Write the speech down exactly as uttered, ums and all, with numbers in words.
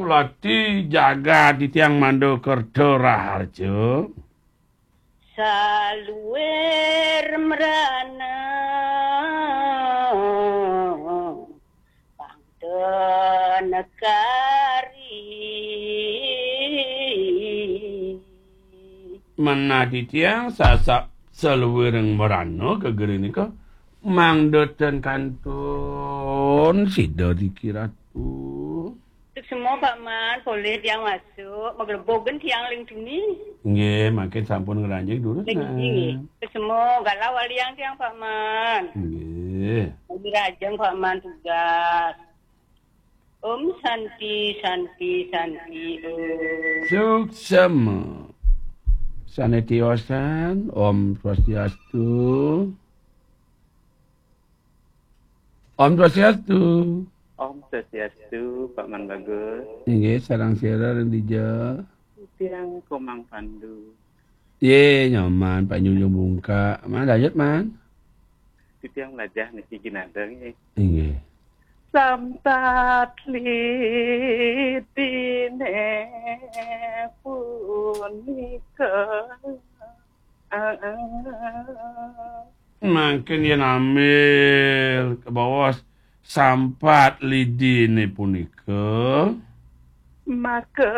Lati jagat titiang Manda Kerta Raharja. Saluir mrana pangda negari. Manah titiang sasak saluiring mrana gegere nika mangda ten kantun sida riki Ratu. Suksma Pak Man, polih tiang masuk, maglebug tiang ling tuni. Nggih, mangkin sampun ngranjing durus. Ling tuni nggih. Suksma galah waliang tiang Pak Man. Nggih. Lagi rajeng Pak Man tugas. Om Santi, Santi, Santi, Om. Suksma. Sane tiosan, Om Swastiastu. Om Swastiastu. Om Swastiastu, Pak Man Bagus. Inggih, sareng sira ring dija. Tiang Komang Pandu. Ye, nyoman, Pak Nyunjung Bungka. Man, lanjut, Man. Titiang lajah niki ginada nggih. Inggih. Sampat lidine punika. Mangkin yen ambil ke bawah sampat lidine punika. Maka